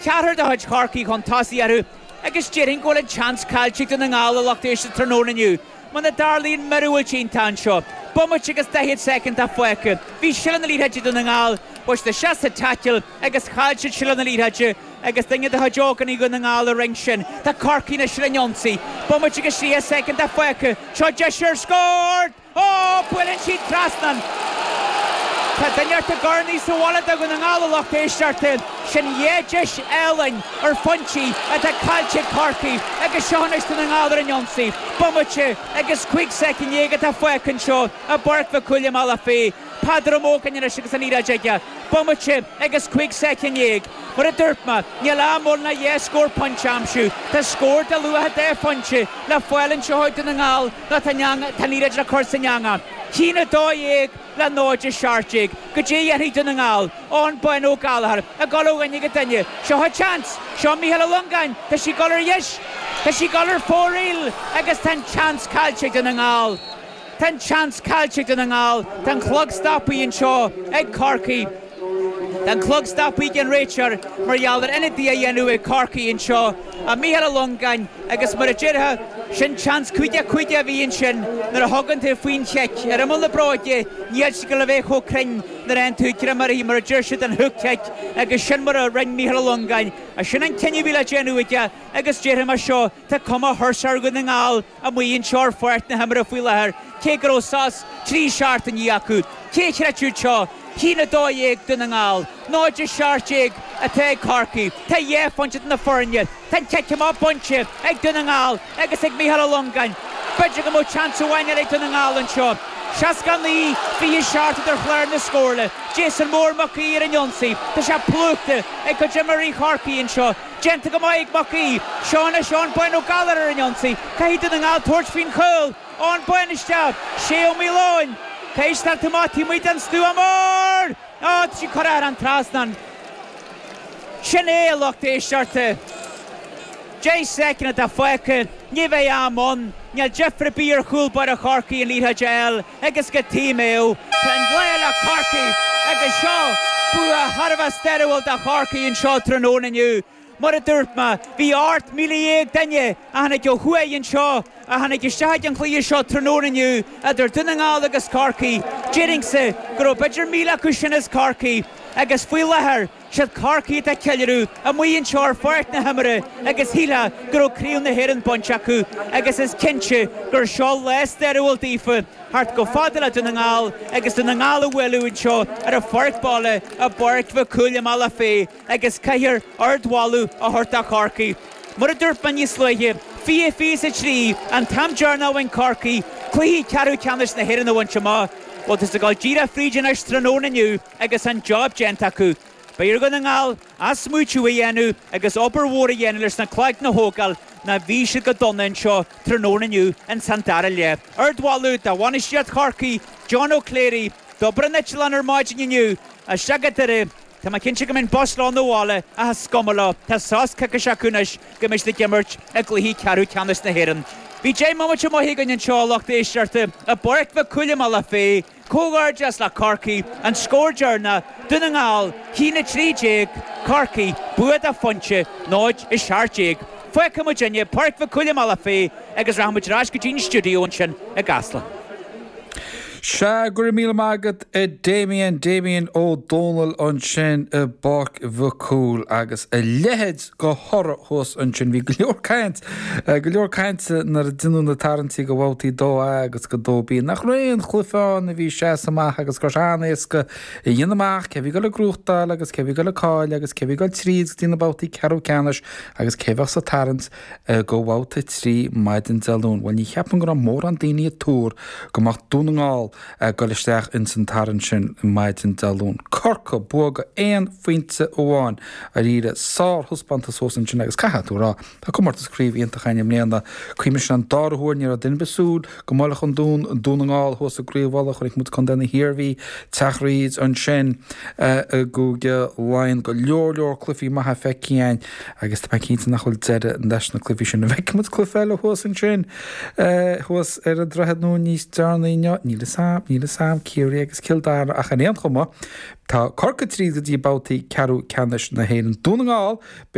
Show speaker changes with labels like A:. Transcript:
A: Ceathrar de chuid Chorcaí chun tosaigh orthu agus déarfainn go bhfuil an tseans caillte ag Dún na nGall a lucht éisteachta tráthnóna inniu muna dtarlaíonn miorúilt iontach anseo. Bomaite agus 40 soicind atá fágtha. Bhí seilbh na liathróide ag Dún na nGall, bhuail siad isteach sa taicil agus chaill siad seilbh na liathróide agus duine de chuid ógánaigh Dhún na nGall a rinne sin. Tá Corcaigh anois ar an ionsaí. Bomaite agus 30 soicind atá fágtha. Seo deis ar scór! Ó! Buaileann sí trasnán! Tá duine ort ag urnaí sa bhaile do Dhún na nGall a lucht éisteachta. Sin dhá deis álainn ar phointí atá caillte ag Corcaigh agus seo anois Dún na nGall ar an ionsaí. Bomaite agus 15 soicind atá fágtha anseo i bPáirc Mhic Cumhaill i mBealach Féich. Peadar Ó Mógáin anois agus an liathróid aige. Bomaite agus 15 soicind. Mar a dúirt mé, níl am ann le dhá scór pointe a aimsiú. Tá scór de luach an dá phointe le fáil anseo ag Dún na nGall. Nó tá an liathróid le cur san eangach. 1-12 le 0-17. Goidé a dhéanfaidh Dún na nGall. Eoghan Bán Ó Gallchóir ag dul ó dhuine go duine. Seo a tseans! Seo Mícheál Ó Longáin! Tá sí ag dul ar dheis! Tá sí ag dul ar fóraoil agus tá an tseans caillte ag Dún na nGall. Tá an tseans caillte ag Dún na nGall. Tá an clog stoptha anseo ag Corcaigh. Tá an clog stoptha ag an réiteoir mar gheall ar ionadaí a dhéanamh ag Corcaigh anseo, a Mícheál Ó Longáin, agus mar a déarfá, sin seans 5-5 a bhí ansin nuair a thugann tú faoin chic ar imeall na bróige, níl sí ag dul a bheith chomh cruinn nuair a fhaigheann tú greim uirthi mar a deir siad an hook kick agus sin mar a rinne Mícheál Ó Longáin. Sin an cinneadh a bhí le déanamh aige agus déarfaidh mé seo, tá cuma thuirseach ar Dhún na nGall amuigh anseo ar pháirc na himeartha faoi láthair, cé go raibh sos 3 seachtainí acu. Cé a chreidfeadh seo? 1-12 Dún na nGall, 0-17 atá ag Corcaigh. Tá dhá phointe idir na foirne. Tá an cic amach bainte ag Dún na nGall agus ag Mícheál Ó Longáin. B'fhéidir go mbeadh seans amháin eile ag Dún na nGall anseo. 69, 27 idir chlár na scórála. Jason Mór Mac Aoidh ar an ionsaí. Tá sé plúchta ag cuid imreoirí Chorcaí anseo. Déanta go maith ag Mac Aoidh. Seo anois Eoghan Bán Ó Gallchóir ar an ionsaí. Caithfidh Dún na nGall tabhairt faoin chúl. Eoghan Bán isteach. Shay Ó Maoileoin. Caithfidh siad amach taobh amuigh den stua mór! Á, tá sí curtha thar an trasnán. Sin é, a lucht éisteachta. 10 soicind atá fágtha. Ní bheidh am ann. Níl deifir ar bith ar chúl báire Chorcaí an liathróid a fháil agus go Tíoméo. Tá an lá le Corcaigh agus seo bua thar a bheith stairiúil do Chorcaigh anseo tráthnóna inniu. Mar a dúirt mé, bhí 18,000 duine a tháinig ó thuaidh anseo, a tháinig isteach ag an chluiche seo tráthnóna inniu idir Dún na nGall agus Corcaigh. Déarfainnse go raibh b'fhéidir 1,000 acu sin as Corcaigh agus faoi láthair, siad Corcaigh atá ag ceiliúradh amuigh anseo ar pháirc na himeartha agus shílfeá go raibh Craobh na hÉireann bainte acu agus is cinnte gur seo lá stairiúil daofa theacht chomh fada le Dún na nGall agus Dún na nGall a bhualadh anseo ar a pháirc baile i bPáirc Mhic Cumhaill i mBealach Féich agus caithfear ardmholadh a thabhairt do Chorcaigh. Mar a dúirt mé níos luaithe, 20 23 an t-am deireanach a bhain Corcaigh cluiche ceathrú ceannais na hÉireann a bhaint amach. Bhuel tá siad ag dul díreach fríd anois tráthnóna inniu agus an job déanta acu. Beidh ar Dhún na nGall athsmaoitiú a dhéanamh agus obair mhór a dhéanamh leis na cloigne a thógáil nó bhí siad go dona anseo tráthnóna inniu ins an dara leath. Ardmholadh do bhainistíocht Chorcaí, John O'Clery, d'obair an eitleán ar maidin inniu isteach go Doire. Tá mé cinnte go mbeidh an bus leo 'na bhaile ach is cuma leo, tá sos coicíse acu anois go mbeidh siad ag imirt i gcluichí ceathrú ceannais na hÉireann. Bhí 10 mbomaite maith againn anseo a lucht éisteachta i bPáirc Mhic Cumhaill i mBealach Féich. Comhghairdeas le Corcaigh, an scór deireanach, Dún na nGall, 1-13, Corcaigh, bua de phointe, 0-17. Fágfaidh muidinne Páirc Mhic Cumhaill i mBealach Féich agus rachaidh muid ar ais go dtí an stiúideo ansin i gCasla.
B: Sea, go raibh míle maith agat a Damien, Damien Ó Dónaill ansin i bPáirc Mhic Cumhaill agus a leithéid de thoradh thuas ansin. Bhí go leor caint, go leor cainte nuair a deineadh na tarraingtí go bhabhtaí 2A agus go 2B. Nach raibh aon chluiche ann a bhí seasta amach agus go raibh sé an-éasca a dhéanamh amach cé bhí ag dul ag gnóthachtáil agus cé bhí ag dul ag cailleadh agus cé bhí ag dul tríd go dtí na babhtaí ceathrú ceannais agus cé bheadh sa tarraingt go Bhabhta 3 maidin Dé Luain. Bhuel, ní cheapaim go raibh mórán daoine ag tuar go mbeadh Dún na nGall ag dul isteach ins an tarraingt sin maidin Dé Luain. Corcaigh, bua go aon phointe amháin. Dáiríre, sárthaispeántas thuas ansin agus caithfidh tú a rá, tá comórtas craoibhe iontach againn i mbliana. Cuimhnigh sin an dara huair, ní raibh duine ar bith ag súil go mbuailfeadh an Dún Dún na nGall thuas i gCraobh Uladh. Chonaic muid Contae na hIarmhí, Teach Reid ansin i gCúige Laighean. Go leor leor cluichí maithe feicthe againn. Agus tá mé cinnte nach bhfuil deireadh leis na cluichí sin. An bhfeicfidh muid cluiche eile thuas ansin, thuas ar an Droichead Nua níos deireanaí inniu? Níl fhios. a'm, níl 'fhios a'm, Ciarraí agus Cill Dara ach ar aon chuma, tá Corcaigh tríd go dtí babhtaí ceathrú ceannais na hÉireann. Dún na nGall.